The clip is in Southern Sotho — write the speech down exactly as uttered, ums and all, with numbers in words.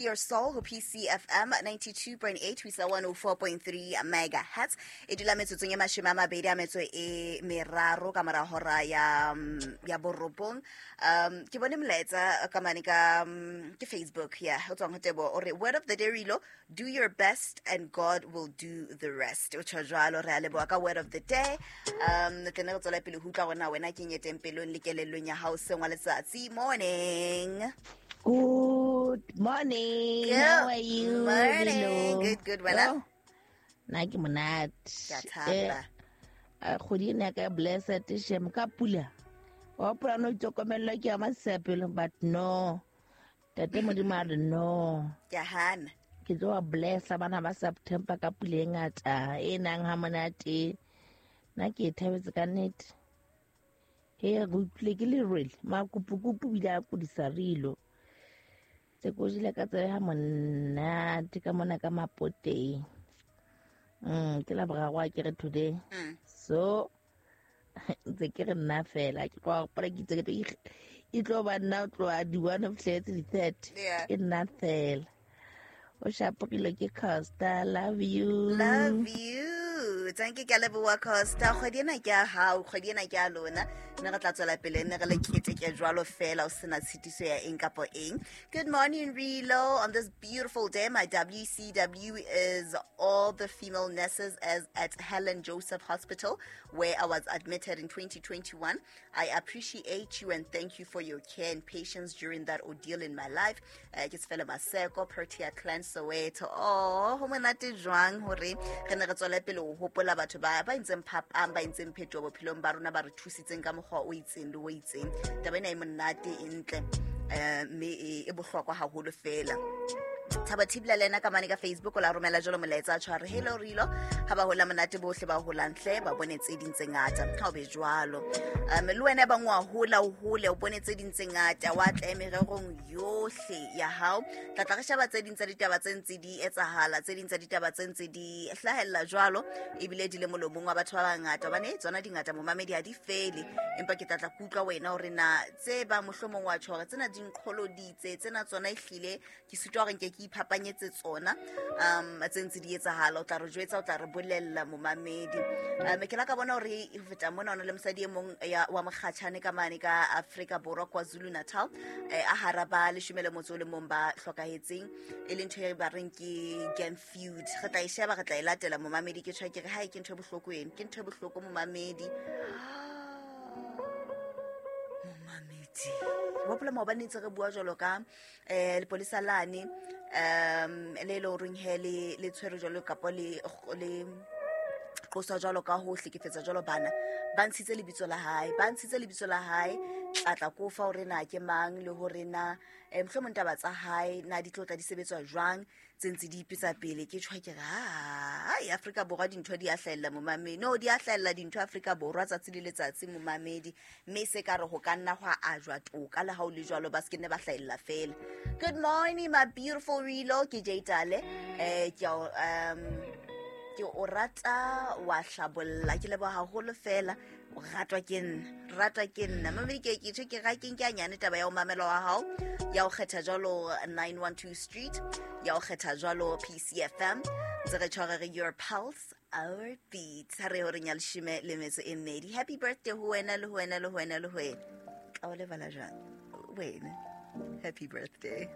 Your Soul ho P C F M ninety-two point eight ho isa one oh four point three megahertz. E dula metsotsong e mashome a mabedi a metso e meraro ka mora hora ya mm, ya borobong. um ke bone molaetsa ka mane ka mm, ke Facebook ya ho tswang ho Tebo. O re, "Word of the day, Rilo, do your best and God will do the rest." O tjho jwalo. Re a leboha ka word of the day. um tle ne re tswela pele ho utlwa hore na wena ke nyeteng pelong le kelellong ya hao seng wa letsatsi. Morning. Good morning. Good How are you? morning. Rilo? Good, good. Wena? Yo, nna ke monate. Ke a thaba. Eh, kgwedi ena ya ka e blessed shem ka pula. Wa hopola no itokomellwa ke ya masepelo, but no. Tate Modimo a re no. Ke a hana. Ke tlo wa blessa bana ba September ka pula e ngata e nang ha monate. Nna ke e thabetse ka nnete. He re utlwile ke lerwele makupukupu bile a kudisa Rilo. Tse ko jele ka tsebe ha monate ka mona ka Mapoteng. Mm, ke la boraro a ke re today. Mm. So ntse ke re nna fela ke tloha gopola ke itse ke tlo ikg- e tlo ba nna o tloha di-one of fihletse di-thirty. Yeah. Ke nna fela o shapogile ke Costa. Love you. Love you. Thank you, ke a leboha, Costa. Kgwedi ena ke ya hao, kgwedi ena ke ya lona. Mme re tla tswela pele nne re le keteke jwalo fela o sena tshitiso ya eng kapo eng. Good morning, Rilo. On this beautiful day, my W C W is all the female nurses as at Helen Joseph Hospital, where I was admitted in twenty twenty-one. I appreciate you and thank you for your care and patience during that ordeal in my life. Eh, ke Sefele Maseko, Protea Clan, Soweto. Oh, ho monate jwang hore re ne re tswele pele ho hopola batho ba ba entseng phapang, ba entseng phetoho bophelong ba rona, ba re thusitseng ka mokgwa o itseng le o itseng. Taba ena e monate, e ntle, eh, mme e e bohlokwa haholo fela. Thaba Thibela le ena ka mane ka Facebook o la romela jalo molaetsa a tshware, "Hello Rilo, ha ba hola monate bohle ba holang hle ba bone tse ding tse ngata." Ha o be jwalo. um le wena e bang wa hola, o hole o bone tse ding tse ngata, wa tla mererong yohle ya hao. Tla tla re sheba tse ding tsa ditaba tse ntse di etsahala, tse ding tsa ditaba tse ntse di hlahella jwalo, ebile di le molomong wa batho ba bangata, hobane tsona di ngata, momamedi, ha di fele. Empa ke tla tla ke utlwa wena hore na tse ba mohlomong wa tjho hore tsena di nqholoditse, tsena tsona ehlile ke sitwa hore nke ke iphapanyetse tsona. um tse ntse di etsahala, o tla re jwetsa, o tla re bolella, momamedi. um ke la ka bona hore ho feta mona ho na le mosadi e mong ya wa mokgatjhane ka mane ka Afrika Borwa, KwaZulu Natal, eh, a hara ba leshome le motso o le mong ba hlokahetseng, e leng ntho e ba reng ke gang feud. Re tla e sheba, re tla e latela, momamedi. Ke tjho ke re hae ke ntho e bohloko eno, ke ntho e bohloko, momamedi. Momamedi, hopola maobane ntse re bua jwalo ka um lepolesa lane um le e le horeng he le le tshwere jwalo kapo le le qoswa jwalo ka ho hlekefetsa jwalo bana. Ba ntshitse lebitso la hae, ba ntshitse lebitso la hae. Tlatla ko fa hore na ke mang le hore na um mohlomong taba tsa hae na di tlo tla di sebetswa jwang, tse ntse di ipetsa pele. Ke tjho ke re ai, Afrika Borwa dintho di a hlahella, momamedi. No, di a hlahella dintho Afrika Borwa tsatsi le letsatsi, momamedi, mme se ka re ho ka nna hwa ajwa toka le ha o le jwalo, ba se ke nne ba hlahella fela. Good morning, my beautiful Rilo. Ke Jatale, eh ke um ke o rata wa hlabolla. Ke leboha haholo fela. O ratwa ke nna, ratwa ke nna, mamedi. Ke ke tjho ke ga ke nke a nyane taba ya ho mamela wa hao, ya ho kgetha jwalo nine one two Street, ya ho kgetha jwalo P C F M. Ntse re tjho re re your pulse, our beat. Ha re horeng ya leshome le metso e mmedi. Happy birthday ho wena le ho wena le ho wena le ho wena. Ka o lebala jwang wena? Happy birthday.